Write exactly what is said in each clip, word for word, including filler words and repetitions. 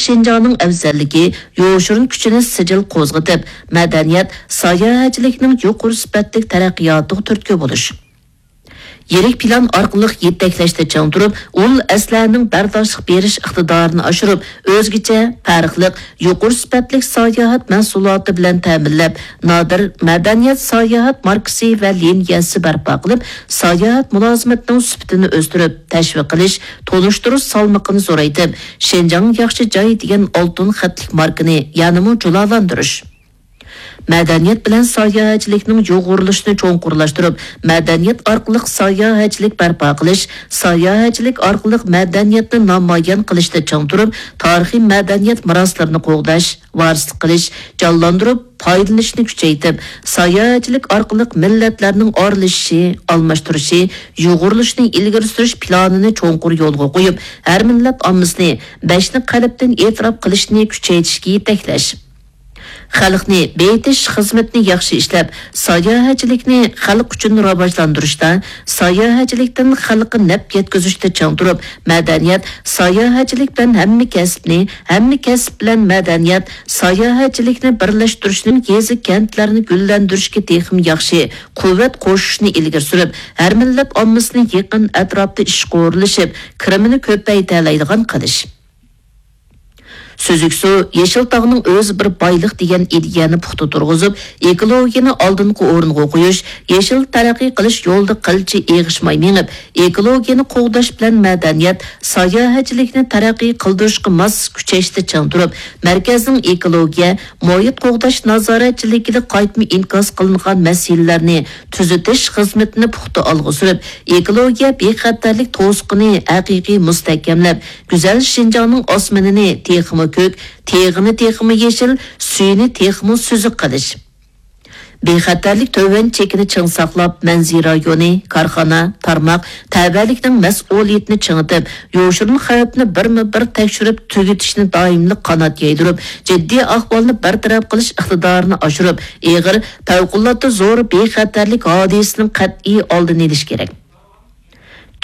شىنجاڭنىڭ ئەۋزەللىكى، يوشۇرۇن كۈچىنى سىجىل قوزغىتىپ، مەدەنىيەت، ساياھەتچىلىكنىڭ يۇقىرى سۈپەتلىك تەرەققىياتىغا تۈرتكە بولۇش. يىرىك پىلان ئارقىلىق يېتەكلەشتە چىڭ تۇرۇپ، ئۇل ئەسلىھەنىڭ بەرداشلىق بېرىش ئىقتىدارىنى ئاشۇرۇپ، ئۆزگىچە، پەرقلىق، يۇقىرى سۈپەتلىك ساياھەت مەھسۇلاتى بىلەن تەمىنلەپ، نادىر مەدەنىيەت ساياھەت ماركىسى ۋە لىنىيەسى بەرپا قىلىپ، ساياھەت مۇلازىمىتىنىڭ سۈپىتىنى ئۆستۈرۈپ، تەشۋىق قىلىش، تونۇشتۇرۇش سالمىقىنى زورايتىپ، شىنجاڭ ياخشى جاي دېگەن ئالتۇن خەتلىك ماركىنى يەنىمۇ جۇلالاندۇرۇش. مەدەنىيەت بىلەن ساياھەتچىلىكنىڭ يۇغۇرۇلۇشىنى چوڭقۇرلاشتۇرۇپ، مەدەنىيەت ئارقىلىق ساياھەتچىلىك بەرپا قىلىش، ساياھەتچىلىك ئارقىلىق مەدەنىيەتنى نامايان قىلىشتا چىڭ تۇرۇپ، تارىخىي مەدەنىيەت مىراسلىرىنى قوغداش، ۋارىسلىق قىلىش، جانلاندۇرۇپ، پايدىلىنىشنى كۈچەيتىپ، ساياھەتچىلىك ئارقىلىق مىللەتلەرنىڭ ئارىلىشىشى، ئالماشتۇرۇشى، يۇغۇرۇلۇشىنى ئىلگىرى سۈرۈش پىلانىنى چوڭقۇر يولغا قويۇپ، ھەر مىللەت ئاممىسىنى بەشنى قەلبتىن ئېتىراپ قىلىشنى كۈچەيتىشكە يېتەكلەش. خەلقنى بېيىتىش خىزمىتىنى ياخشى ئىشلەپ، ساياھەتچىلىكنى خەلق ئۈچۈن راۋاجلاندۇرۇشتا، ساياھەتچىلىكتىن خەلققە نەپ يەتكۈزۈشتە چىڭ تۇرۇپ، مەدەنىيەت، ساياھەتچىلىك بىلەن ھەممە كەسىپنى، ھەممە كەسىپ بىلەن مەدەنىيەت، ساياھەتچىلىكنى بىرلەشتۈرۈشنىڭ يېزا، كەنتلەرنى گۈللەندۈرۈشكە تېخىمۇ ياخشى قۇۋۋەت قوشۇشنى ئىلگىرى سۈرۈپ، ھەر مىللەت ئاممىسىنى يېقىن ئەتراپتا ئىشقا ئورۇنلىشىپ، كىرىمىنى كۆپەيتەلەيدىغان قىلىش. سۈزۈك سۇ، يېشىل تاغنىڭ ئۆزى بىر بايلىق دېگەن ئىدىيەنى پۇختا تۇرغۇزۇپ، ئېكولوگىيەنى ئالدىنقى ئورۇنغا قويۇش، يېشىل تەرەققىي قىلىش يولىدا قىلچە ئېغىشماي مېڭىپ، ئېكولوگىيەنى قوغداش بىلەن مەدەنىيەت، ساياھەتچىلىكنى تەرەققىي قىلدۇرۇشقا ماس كۈچەشتە چىڭ تۇرۇپ، مەركەزنىڭ ئېكولوگىيە، مۇھىت قوغداش نازارەتچىلىكىدە قايتما ئىنكاس قىلىنغان مەسىلىلەرنى تۈزىتىش خىزمىتىنى پۇختا ئالغا سۈرۈپ، ئېكولوگىيە بىخەتەرلىك توسۇقىنى ھەقىقىي مۇستەھكەملەپ، گۈزەل شىنجاڭنىڭ ئاسمىنىنى تېخىمۇ كۆك، تېغىنى تېخىمۇ يېشىل، سۈيىنى تېخىمۇ سۈزۈك قىلىش. بىخەتەرلىك تۆۋەن چېكىنى چىڭ ساقلاپ، مەنزىرە رايونى، كارخانا، تارماق، تەۋەلىكنىڭ مەسئۇلىيىتىنى چىڭىتىپ، يوشۇرۇن خەۋپنى بىرمۇ بىر تەكشۈرۈپ تۈگىتىشنى دائىملىق قانات يايدۇرۇپ، جىددىي ئەھۋالنى بىر تەرەپ قىلىش ئىقتىدارىنى ئاشۇرۇپ، ئېغىر، پەۋقۇلئاددە زور بىخەتەرلىك ھادىسىسىنىڭ قەتئىي ئالدىنى ئېلىش كېرەك.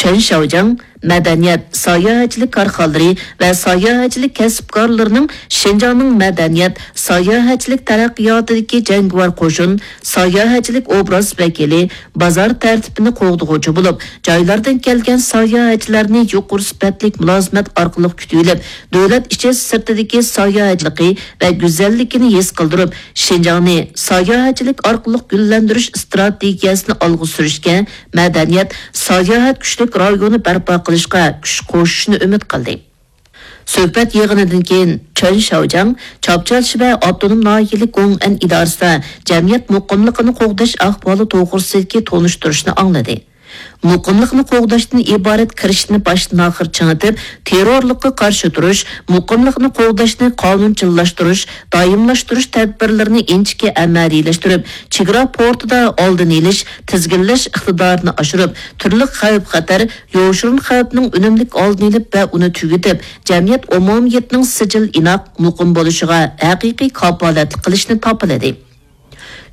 چېن شياۋجياڭ مەدەنىيەت، ساياھەتچىلىك كارخانىلىرى ۋە ساياھەتچىلىك كەسىپكارلىرىنىڭ شىنجاڭنىڭ مەدەنىيەت، ساياھەتچىلىك تەرەققىياتىدىكى جەڭگىۋار قوشۇن، ساياھەتچىلىك ئوبراز ۋەكىلى، بازار تەرتىپىنى قوغدىغۇچى بولۇپ، جايلاردىن كەلگەن ساياھەتچىلەرنى يۇقىرى سۈپەتلىك مۇلازىمەت ئارقىلىق كۈتۈۋېلىپ، دۆلەت ئىچى سىرتىدىكى ساياھەتچىلىكى ۋە گۈزەللىكىنى ھېس قىلدۇرۇپ، شىنجاڭنى ساياھەتچىلىك ئارقىلىق گۈللەندۈرۈش ئىستراتېگىيەسىنى ئالغا سۈرۈشكە، مەدەنىيەت، ساياھەت كۈچلۈك رايونى بەرپا قىلىشقا كۈچ قوشۇشىنى ئۈمىد قىلدى. سۆھبەت يىغىنىدىن كېيىن، چېن شياۋجياڭ چاپچال شىبە ئاپتونوم ناھىيەلىك گوڭئەن ئىدارىسىدا جەمئىيەت مۇقىملىقىنى قوغداش ئەھۋالى توغرىسىدىكى تونۇشتۇرۇشنى ئاڭلىدى. مۇقىملىقنى قوغداشتىن ئىبارەت كىرىشىشنى باشتىن-ئاخىر چىڭىتىپ، تېررورلۇققا قارشى تۇرۇش، مۇقىملىقنى قوغداشنى قانۇنچىللاشتۇرۇش، دائىملاشتۇرۇش تەدبىرلىرىنى ئىنچىكە ئەمەلىيلەشتۈرۈپ، چېگرا پورتىدا ئالدىنى ئېلىش، تىزگىنلەش ئىقتىدارىنى ئاشۇرۇپ، تۈرلۈك خەۋپ-خەتەر، يوشۇرۇن خەۋپنىڭ ئۈنۈملۈك ئالدىنى ئېلىپ ۋە ئۇنى تۈگىتىپ، جەمئىيەت ئومۇمىيىتىنىڭ سىجىل ئىناق، مۇقىم بولۇشىغا ھەقىقىي كاپالەتلىك قىلىشنى تاپىلىدى.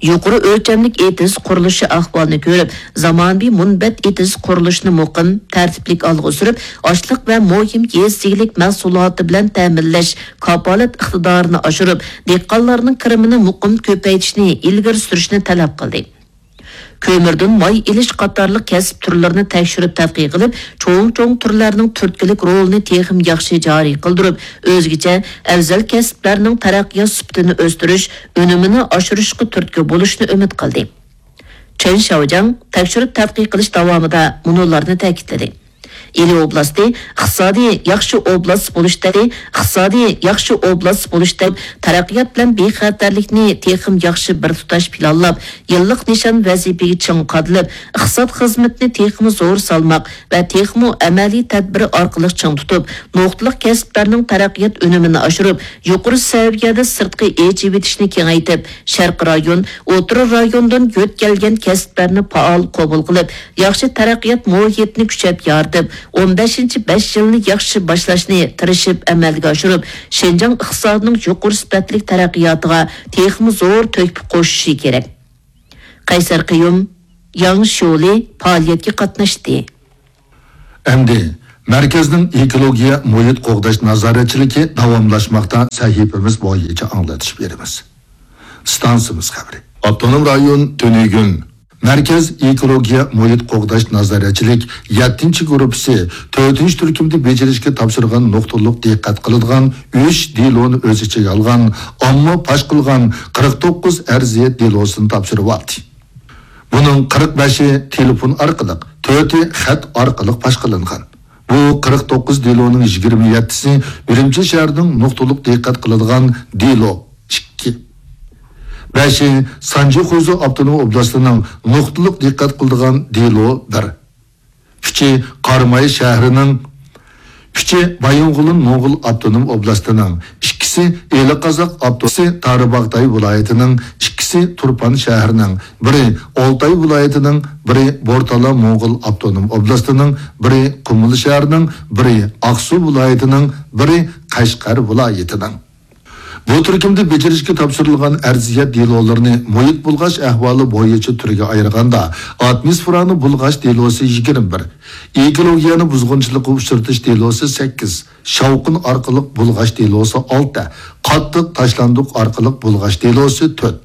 يۇقىرى ئۆلچەملىك ئېتىز قۇرۇلۇشى ئەھۋالىنى كۆرۈپ، زامانىۋى مۇنبەت ئېتىز قۇرۇلۇشىنى مۇقىم، تەرتىپلىك ئالغا سۈرۈپ، ئاشلىق ۋە مۇھىم يېزا ئىگىلىك مەھسۇلاتى بىلەن تەمىنلەش كاپالەت ئىقتىدارىنى ئاشۇرۇپ، دېھقانلارنىڭ كىرىمىنى مۇقىم كۆپەيتىشنى ئىلگىرى سۈرۈشنى تەلەپ قىلدى. كۆمۈردىن ماي ئېلىش قاتارلىق كەسىپ تۈرلىرىنى تەكشۈرۈپ تەتقىق قىلىپ، چوڭ-چوڭ تۈرلەرنىڭ تۈرتكىلىك رولىنى تېخىمۇ ياخشى جارى قىلدۇرۇپ، ئۆزگىچە ئەۋزەل كەسىپلەرنىڭ تەرەققىيات سۈپىتىنى ئۆستۈرۈش، ئۈنۈمىنى ئاشۇرۇشقا تۈرتكە بولۇشنى ئۈمىد قىلدى. چېن شياۋجياڭ تەكشۈرۈپ تەتقىق قىلىش داۋامىدا مۇنۇلارنى تەكىتلىدى. ئىلى ئوبلاستى ئىقتىسادىي ياخشى ئوبلاست بولۇشتا، ئىقتىسادىي ياخشى ئوبلاست بولۇشتا تەرەققىيات بىلەن بىخەتەرلىكنى تېخىمۇ ياخشى بىر تۇتاش پىلانلاپ، يىللىق نىشان ۋەزىپىگە چىڭ قادىلىپ، ئىقتىساد خىزمىتىنى تېخىمۇ زور سالماق ۋە تېخىمۇ ئەمەلىي تەدبىر ئارقىلىق چىڭ تۇتۇپ، نۇقتىلىق كەسىپلەرنىڭ تەرەققىيات ئۈنۈمىنى ئاشۇرۇپ، يۇقىرى سەۋىيەدە سىرتقى ئېچىۋېتىشنى كېڭەيتىپ، شەرقىي رايون، ئوتتۇرا رايوندىن يۆتكەلگەن كەسىپلەرنى پائال قوبۇل قىلىپ، ياخشى تەرەققىيات مۇھىتىنى كۈچەپ يارىتىپ، ئون بەشىنچى بەش يىلنى ياخشى باشلاشنى تىرىشىپ ئەمەلگە ئاشۇرۇپ، شىنجاڭ ئىقتىسادىنىڭ يۇقىرى سۈپەتلىك تەرەققىياتىغا تېخىمۇ زور تۆھپە قوشۇشى كېرەك. قەيسەر قىيۇم، ياڭ شيولى پائالىيەتكە قاتناشتى. ئەمدى مەركەزنىڭ ئېكولوگىيە مۇھىت قوغداش نازارەتچىلىكى داۋاملاشماقتا سەھىپىمىز بويىچە ئاڭلىتىش بېرىمىز. ئىستانسىمىز خەۋىرى. ئاپتونوم رايون تۈنۈگۈن مەركەز ئېكولوگىيە مۇھىت قوغداش نازارەتچىلىك يەتتىنچى گۇرۇپپىسى تۆتىنچى تۈركۈمدە بېجىرىشكە تاپشۇرغان نۇقتىلىق دىققەت قىلىدىغان ئۈچ دېلونى ئۆز ئىچىگە ئالغان ئامما پاش قىلغان قىرىق توققۇز ئەرزىيەت دېلوسىنى تاپشۇرۇۋالدى. بۇنىڭ قىرىق بەشى تېلېفون ئارقىلىق، تۆتى خەت ئارقىلىق پاش قىلىنغان. بۇ قىرىق توققۇز دېلونىڭ يىگىرمە يەتتىسى ئۈرۈمچى شەھىرىنىڭ نۇقتىلىق دىققەت قىلىدىغان دېلو، ئىككى. بەشى سانجى خۇيزۇ ئاپتونوم ئوبلاستىنىڭ نۇقتىلىق دىققەت قىلىدىغان دېلو، بىر. ئۈچى قاراماي شەھىرىنىڭ، ئۈچى بايىنغولىن موڭغۇل ئاپتونوم ئوبلاستىنىڭ، ئىككىسى ئىلى قازاق ئاپتونوم، ئىككىسى تارىباغتاي ۋىلايىتىنىڭ، ئىككىسى تۇرپان شەھىرىنىڭ، بىرى ئالتاي ۋىلايىتىنىڭ، بىرى بورتالا موڭغۇل ئاپتونوم ئوبلاستىنىڭ، بىرى قۇمۇل شەھىرىنىڭ، بىرى ئاقسۇ ۋىلايىتىنىڭ، بىرى قەشقەر ۋىلايىتىنىڭ. بۇ تۈركۈمدە بېجىرىشكە تاپشۇرۇلغان ئەرزىيەت دېلولىرىنى مۇھىت بۇلغاش ئەھۋالى بويىچە تۈرگە ئايرىغاندا، ئاتموسفېرانى بۇلغاش دېلوسى يىگىرمە بىر، ئېكولوگىيەنى بۇزغۇنچىلىققا ئۇچرىتىش دېلوسى سەككىز، شاۋقۇن ئارقىلىق بۇلغاش دېلوسى ئالتە، قاتتىق تاشلاندۇق ئارقىلىق بۇلغاش دېلوسى تۆت،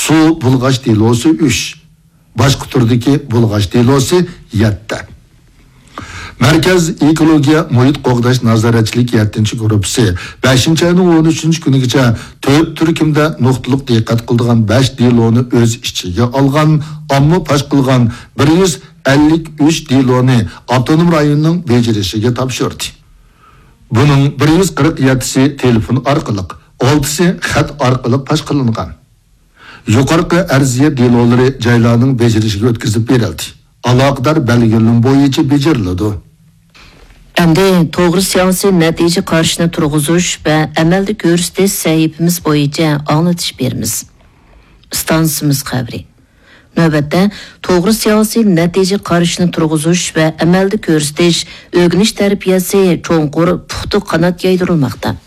سۇ بۇلغاش دېلوسى ئۈچ، باشقا تۈردىكى بۇلغاش دېلوسى يەتتە. مەركەز ئېكولوگىيە مۇھىت قوغداش نازارەتچىلىك يەتتىنچى گۇرۇپپىسى بەشىنچى ئاينىڭ ئون ئۈچىنچى كۈنىگىچە تۆت تۈركۈمدە نۇقتىلىق دىققەت قىلىدىغان بەش دېلونى ئۆز ئىچىگە ئالغان، ئامما پاش قىلغان بىر يۈز ئەللىك ئۈچ دېلونى ئاپتونوم رايوننىڭ بېجىرىشىگە تاپشۇردى. بۇنىڭ بىر يۈز قىرىق يەتتىسى تېلېفون ئارقىلىق، ئالتىسى خەت ئارقىلىق پاش قىلىنغان. يۇقىرىقى ئەرزىيەت دېلولىرى جايلارنىڭ بېجىرىشىگە ئۆتكۈزۈپ بېرىلدى. ئالاقىدار بەلگىلىمە بويىچە بېجىرىلىدۇ. ئەمدى توغرا سىياسىي نەتىجە قارىشىنى تۇرغۇزۇش ۋە ئەمەلدە كۆرسىتىش سەھىپىمىز بويىچە ئاڭلىتىش بېرىمىز. ئىستانسىمىز خەۋىرى. نۆۋەتتە، توغرا سىياسىي نەتىجە قارىشىنى تۇرغۇزۇش ۋە ئەمەلدە كۆرسىتىش، ئۆگىنىش تەربىيەسى چوڭقۇر، پۇختا قانات يايدۇرۇلماقتا.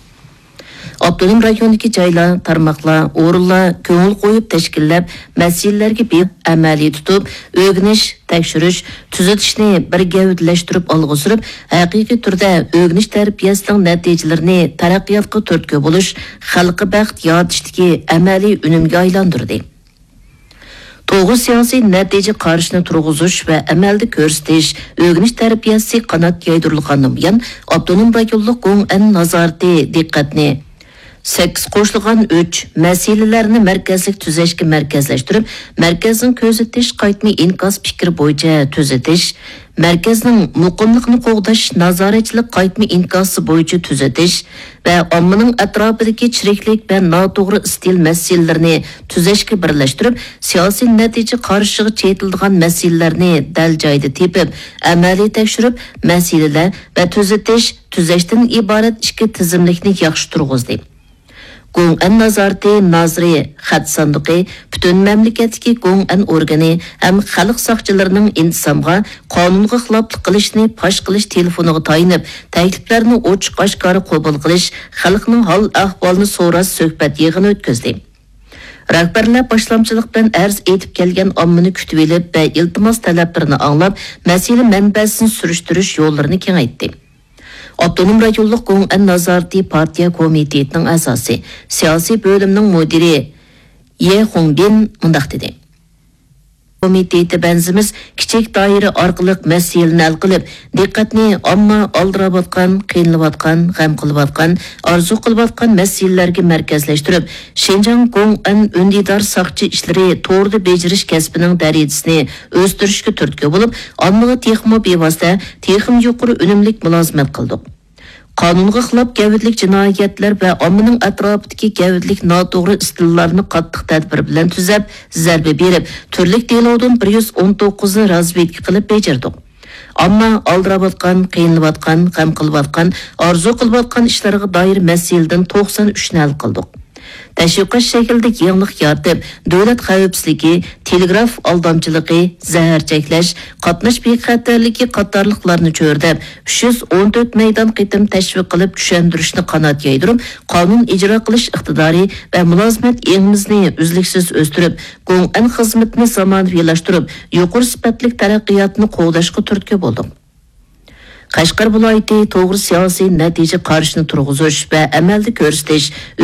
ئاپتونوم رايوندىكى جايلار، تارماقلار، ئورۇنلار كۆڭۈل قويۇپ تەشكىللەپ، مەسىلىلەرگە بېرىپ ئەمەلىي تۇتۇپ، ئۆگىنىش، تەكشۈرۈش، تۈزىتىشنى بىر گەۋدىلەشتۈرۈپ ئالغا سۈرۈپ، ھەقىقىي تۈردە ئۆگىنىش تەربىيەسىنىڭ نەتىجىلىرىنى تەرەققىياتقا تۈرتكە بولۇش، خەلققە بەخت يارىتىشتىكى ئەمەلىي ئۈنۈمگە ئايلاندۇردى. توغرا سىياسىي نەتىجە قارىشىنى تۇرغۇزۇش ۋە ئەمەلدە كۆرسىتىش، ئۆگىنىش تەربىيەسى قانات يايدۇرۇلغاندىن بۇيان، ئاپتونوم رايونلۇق گوڭئەن نازارىتى دىققەتنى سەككىز قوشۇلغان ئۈچ مەسىلىلەرنى مەركەزلىك تۈزەشكە مەركەزلەشتۈرۈپ، مەركەزنىڭ كۆزىتىش قايتما ئىنكاس پىكرى بويىچە تۈزىتىش، مەركەزنىڭ مۇقىملىقنى قوغداش نازارەتچىلىك قايتما ئىنكاسى بويىچە تۈزىتىش ۋە ئاممىنىڭ ئەتراپىدىكى چىرىكلىك ۋە ناتوغرا ئىستىل مەسىلىلىرىنى تۈزەشكە بىرلەشتۈرۈپ، سىياسىي نەتىجە قارىشىغا چېتىلىدىغان مەسىلىلەرنى دەل جايىدا تېپىپ، ئەمەلىي تەكشۈرۈپ، مەسىلىلەر ۋە تۈزىتىش، تۈزەشتىن ئىبارەت ئىككى تىزىملىكنى ياخشى تۇرغۇزدى. گوڭئەن نازارىتى نازىرى خەت ساندۇقى پۈتۈن مەملىكەتتىكى گوڭئەن ئورگىنى ھەم خەلق ساقچىلىرىنىڭ ئىنتىزامغا قانۇنغا خىلاپلىق قىلىشنى پاش قىلىش تېلېفونىغا تايىنىپ، تەكلىپلەرنى ئوچۇق-ئاشكارا قوبۇل قىلىش، خەلقنىڭ ھال-ئەھۋالىنى سوراش سۆھبەت يىغىنى ئۆتكۈزدى. رەھبەرلەر باشلامچىلىق بىلەن ئەرز ئېيتىپ كەلگەن ئاممىنى كۈتۈۋېلىپ ۋە ئىلتىماس تەلەپلىرىنى ئاڭلاپ، مەسىلە مەنبەسىنى سۈرۈشتۈرۈش يوللىرىنى كېڭەيتتى. ئاپتونوم رايونلۇق گوڭئەن نازارىتى پارتىيە كومىتېتىنىڭ ئەزاسى، سىياسىي بۆلۈمنىڭ مۇدىرى يې خۇڭبىن مۇنداق دېدى: كومىتېتى بەنزىمىز كىچىك دائىرە ئارقىلىق مەسىلىنى ھەل قىلىپ، دىققەتنى ئامما ئالدىراۋاتقان، قىينىلىۋاتقان، غەم قىلىۋاتقان، ئارزۇ قىلىۋاتقان مەسىلىلەرگە مەركەزلەشتۈرۈپ، شىنجاڭ گوڭئەن ئۈندىدار ساقچى ئىشلىرى توردا بېجىرىش كەسپىنىڭ دەرىجىسىنى ئۆستۈرۈشكە تۈرتكە بولۇپ، ئاممىغا تېخىمۇ بىۋاسىتە، تېخىمۇ يۇقىرى ئۈنۈملۈك مۇلازىمەت قىلدۇق. قانۇنغا خىلاپ گەۋدىلىك جىنايەتلەر ۋە ئاممىنىڭ ئەتراپىدىكى گەۋدىلىك ناتوغرا ئىستىللارنى قاتتىق تەدبىر بىلەن تۈزەپ، زەربە بېرىپ، تۈرلۈك دېلودىن بىر يۈز ئون توققۇزنى رازۋېدكا قىلىپ بېجىردۇق. ئامما ئالدىراۋاتقان، قىينىلىۋاتقان، غەم قىلىۋاتقان، ئارزۇ قىلىۋاتقان ئىشلارغا دائىر مەسىلىدىن توقسان ئۈچنى ھەل قىلدۇق. تەشۋىقات شەكلىدە يېڭىلىق يارىتىپ، دۆلەت خەۋپسىزلىكى، تېلېگراف ئالدامچىلىقى، زەھەر چەكلەش، قاتناش بىخەتەرلىكى قاتارلىقلارنى چۆرىدەپ، ئۈچ يۈز ئون تۆت مەيدان قېتىم تەشۋىق قىلىپ، چۈشەندۈرۈشنى قانات يايدۇرۇپ، قانۇن ئىجرا قىلىش ئىقتىدارى ۋە مۇلازىمەت ئېڭىمىزنى ئۈزلۈكسىز ئۆستۈرۈپ، گوڭئەن خىزمىتىنى زامانىۋىلاشتۇرۇپ، يۇقىرى سۈپەتلىك تەرەققىياتنى قوغداشقا تۈرتكە بولدۇق. قەشقەر ۋىلايىتى توغرا سىياسىي نەتىجە قارىشىنى تۇرغۇزۇش ۋە ئەمەلدە كۆرسىتىش